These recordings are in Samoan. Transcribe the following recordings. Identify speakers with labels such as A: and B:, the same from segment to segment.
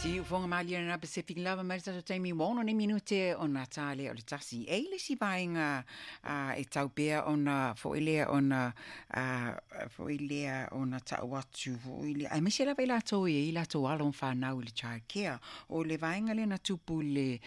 A: Siufoga malie lena Pacific lava mai le tatou taimi ua 6 nei minute ona ta lea o le 1. E i le isi vaega e tau pea ona foi lea ona foi lea ona ta'u atu foi lea, aemaise lava i latou e i ai latou alo ma fanau i le child care. O le vaega lea na tupu i le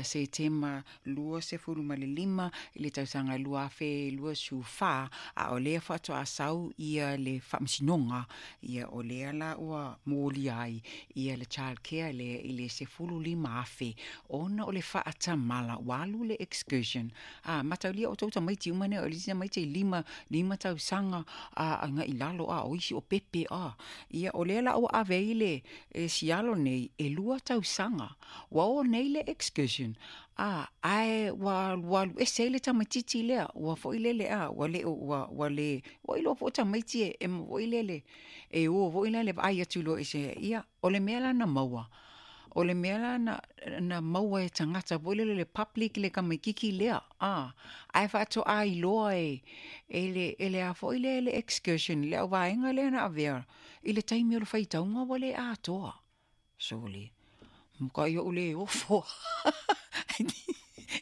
A: Setema 25 i le tausaga 2024, a o lea faatoa sau ia le faamasinoga, ia o lea la ua molia ai ia le child care lea i le 15,000 ona o le faatamala ua alu le excursion. A mataulia o tou tamaiti uma nei, o le isi tamaiti e 5 tausaga a agai i lalo, a o isi o pepe a. Ia o lea la ua ave ai le sialo nei e 2 tausaga. Ua o nei le excursion, a ae ua alu ese ai le tamaititi lea, ua foi lele a, ua le ua ua le ua iloa foi tamaiti e foi lele e o foi la le vaai atu loa i se ia o le mea la na maua. O le mea la na maua e tagata foi lele le public le tamaititi lea, a ae faatoa iloa e e le a foi lea le excursion le au vaega lea na avea i le taimi o le faitauga ua le atoa. Sole, matai ou le ofo.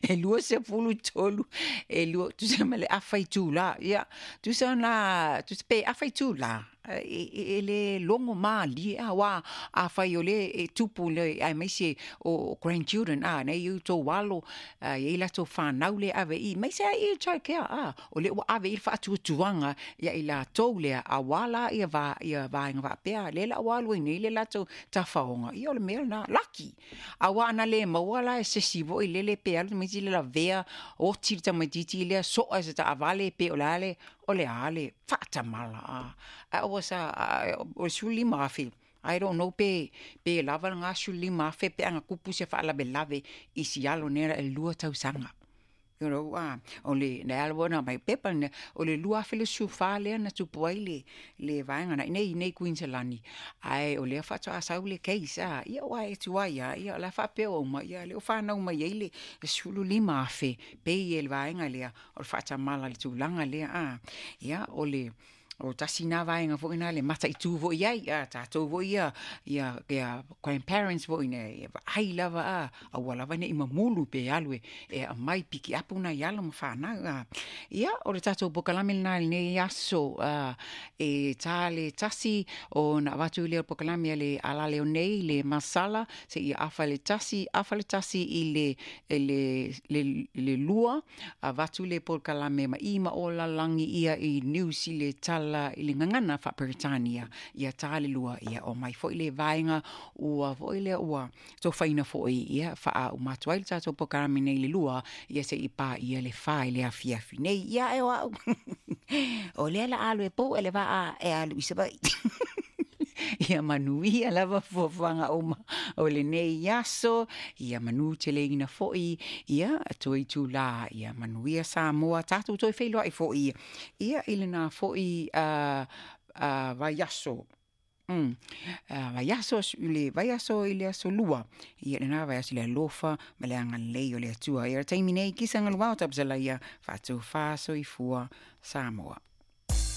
A: E 23, e lua, tusa ma le afa itula. Ia, tusa na, tusa pe afa itula, e le logo malie a wa a fai o le e tupu le aemaise o grandchildren a nei i tou alo e i latou fanau le ave i mai se i child care a o le ua ave i le faatuatuaga ia i latou lea aua la ia va ia vaega faapea lea la ua alu ai nei le latou tafaoga. Ia o le mea lena laki aua ana le maua la e sesi foi lele pe alu tamaiti le lavea oti le tamaititi lea soa e se taavale pe o le a le o le a le faatamala a a ua sa o le 15,000. I don't know pe lava lena 15,000 pe ana tupu se faalavelave i si alo nei e 2 tausaga. You know, o le na ala wana mai pepa na o le 2014 lea na tupu ai le vaega na nei nei Queensland ai o lea faatoa sau le case a ia ua e tuai ia ia la faapea uma ia le o whanau mai ai le 15,000 pe i le vaega lea o le faatamala le tulaga lea a ia o le o tasi nā vaega foi na le mataitu foi ai a tātou foi ia ia ia grandparents foi ne vaai lava a aua lava nei mamulu pe alu e aumai piki apu nai alo ma whanau a. Ia o le tātou pokalame lena i lenei aso e tā le 1 o na avatu lea o pokalame a le alale o nei le masala se ia afa le 1 afa le 1 i le 2 avatu le pokalame ma i ma o lalangi ia i New Zealand tala i le ngangana faa-Peretania ia tā le 2 ia o mai foi le vaega ua foi lea ua tofaina foi ia faa umatu ai le tātou pokalame nei le 2 ia se i pā ia le 4 i le afiafi nei ia e o au. O lea la alu e pō e le vaa e alu i Savaii. Ia manuia lava fuafuaga uma o lenei aso, ia manu teleina foi, ia toe itulā, ia manuia Samoa, tātou toe feiloai foi, ia i lena foi vaiaso. Vaiaso le vaiaso i le aso 2 ia lena vaiaso le alofa ma le agalelei o le Atua. Ia le taimi nei kisa galuao tapasala ia faatofā soifua Samoa.